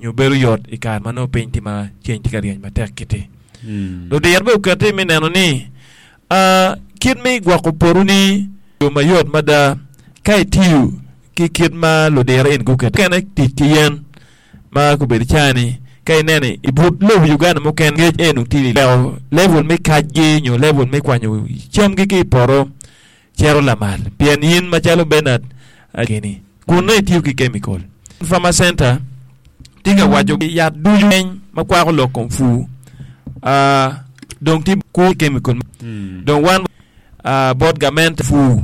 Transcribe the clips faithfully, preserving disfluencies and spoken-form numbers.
Nyo bedo yot i kare ma nongo piny tye ma ceng tye ka ryeny matek kiti. Ludiro bene oketi me neno ni ah, kit me gwoko potoni yo mayot mada ka itiyo ki kit ma ludiro eni guketo. Mukene tic ki yen ma gubedo cani ka ineno i but lobo Uganda mukene ngec eni tye i weko level me kacgi nyo level me kwanyo camgi ki i poto cito lamal pien in macalo Bernard keni kun nongo itiyo ki chemical. Farmer Center tye ka waco yat ducu ma kwako lok kom pur ah, dong tye ku chemical dong wan ah, bot gamente pur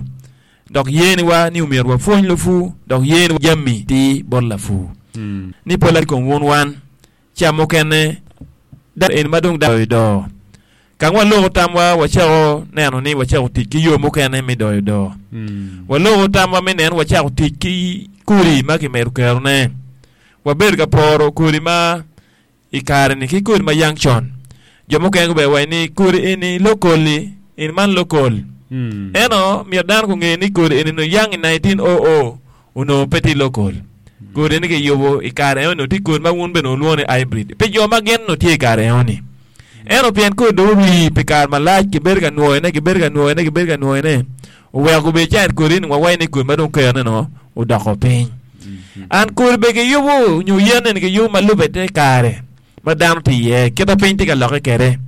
dok yeniwa ni omyero wapwony lupur dok yeni jami ti bot lapur ni pola kom wun wan ca mukene da en ma dong doyo doo ka waloko tamwa wacako neno ni wacako tic ki yo mukene me doyo doo waloko tamwa me neno wacako tic ki kodi ma kimedo kerone wabedo ka poro kodi ma i kare-ni ki kodi ma yang con jo mukene gubedo waco ni kodi eni local-li eni man local eno myero dano gunge ni kodi eni onongo yang i nineteen oh oh onongo pe tye local kodi eni kiyubo i kare eno tye kodi ma wun bene wulwongo ni hybrid pi jo ma gin onongo tye i kare eno-ni ento pien kodi dong ori pi kare malac kibedo ka nwoyone kibedo ka nwoyone kibedo ka nwoyone oweko gubedo cani kodi eni wawaco ni kodi ma dong kerone no odoko piny an kodi bene kiyubo nyo yen eni kiyubo ma lube te kare ma dano tye iye kita piny tye ka lokke kwede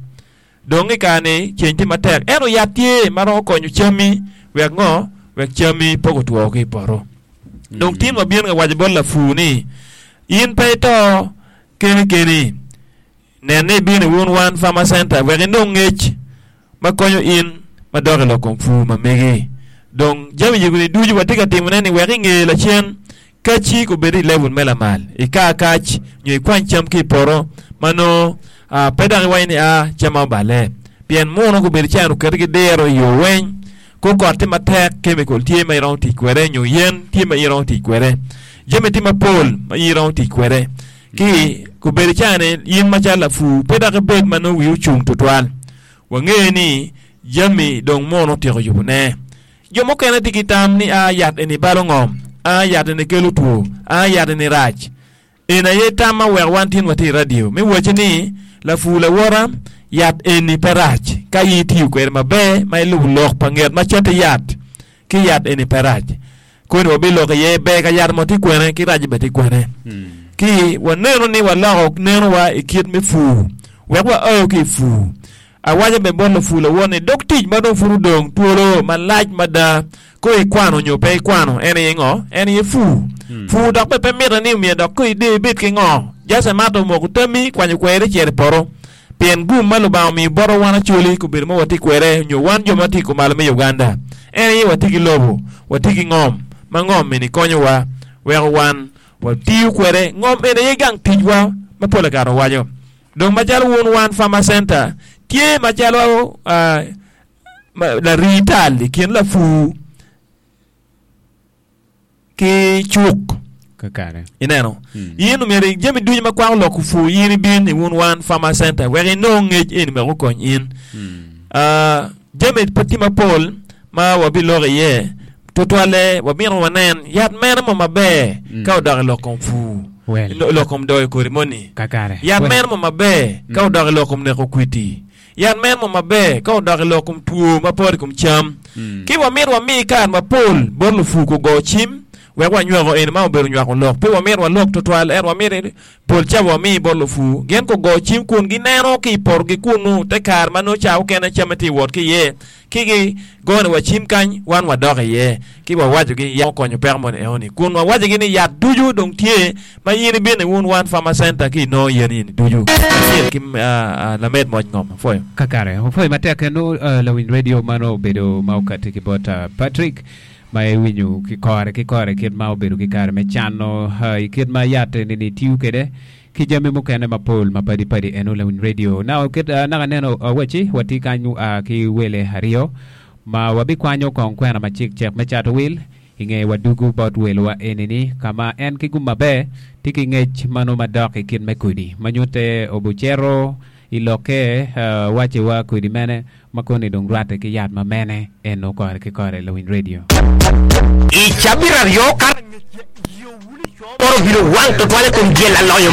dong i kare-ni ceng tye matek ento yat tye ma romo konyo cammi wek ngo wek cammi pe gutwo ki i poto dong tin wabino ka waco bot lapur ni in pe ito keni keni nen ni ibino i Wun One Farmer Center wek inong ngec ma konyo in ma dok i lok kom pur ma megi dong jami yego-ni ducu watye ka timone ni wek inge lacen kaci gubedo i level me lamal ika kac nyo ikwany cam ki i poto ma nongo ah, pe dok iwaco ni a camma oballe pien muno gubedo cani oketi ki diro i yo weny ko kot tye matek chemical tye ma iromo tic kwede nyo yen tye ma iromo tic kwede jami tye mapol ma iromo tic kwede ki gubedo cani in macalo lapur pe dok ibed ma nongo wii ocung tutwal wange ni jami dong muno otyeko yubone jo mukene tye ki tam ni a yat eni balo ngom a yat eni kelo two a yat eni rac en aye tam ma weko wan tin watye i radio me waco ni lapur lawota yat eni pe rac ka in itiyo kwede maber ma ilubo lok pa nget ma cati yat ki yat eni pe rac koni wabiloko iye ber ka yat mo tye kwene ki rac bene tye kwene ki waneno ni waloko nenowa i kit me pur wek waao ki i pur awaco bene bot lapur lawot ni dog tic ma dong pud odong twolo malac mada ko ikwano nyo pe ikwano en aye ngo en aye pur pur dok bene pe mitte ni myero dok ko ide ibed ki ngo just a matter of moko tammi kwanyo kweri icito i poto pien gum ma Lubanga omiyo botwa wan Acholi kobedo ma watye kwede nyo wan jo ma tye kumalo me Uganda en aye watye ki lobo watye ki ngom ma ngom eni konyowa weko wan watiyo kwede ngom eni aye gang ticwa ma pol kare owaco dong macalo Wun One Farmer Center tye macalo ah, ma- larii tal i kin lapur ki cuk kakare ineno in omyero i jami ducu ma kwako loko pur in ibin i Wun One Farmer Center wek inong ngec eni wek okony in Ah, jami pe tye mapol ma wabiloko iye tutwalle wamito wanen yat mene mo maber ka odok i lok kom pur Well. i lok kom doyo kodi moni kakare yat Well. mene mo maber ka odok i lok kom neko kwiti yat mene mo maber ka odok i lok kom two ma poto i kom cam ki wamito wami kare mapol bot lupur kugo cim wek wanywako eni ma obedo nywako lok pe wamito walok tutwal ento wamito pol cawa wami bot lupur gin kugo cim kun gineno ki i potogi kunu te kare ma nongo ca okene camme tye i wot ki iye ki gigone wa cim kany wan wadok iye ki wawacogi ya okonyo peko moni enoni kun wawacogi ni yat ducu dong tye ma in ibino i Wun One Farmer Center ki inongo yen eni ducu kacel ki ah, ah, lamed moc ngom apwoyo kakare opwoyo matek eno uh, lawiny radio mano obedo ma okati ki bot uh, Patrick ma iwinyo ki kore ki kore kit ma obedo ki kare me cano uh, i kit ma yat eni ni tiyo kwede ki jami mukene mapol mapadi padi eno lawiny radio na kit uh, naka neno uh, waci watye kany uh, ki wele aryo ma wabikwanyo kong kwena macek cek me cato wil inge wadugu bot welwa enini kama en ki gum maber tye ki ngec mano madok i kit me kodi ma nyute obucero i lokke uh, waciwa kodi mene ma koni dong rwatte ki yat ma mene eno kore ki kore lawiny radio I cabit aryo kare ngec yo wuli Moro obino wang tutwal i kom dyel aloyo.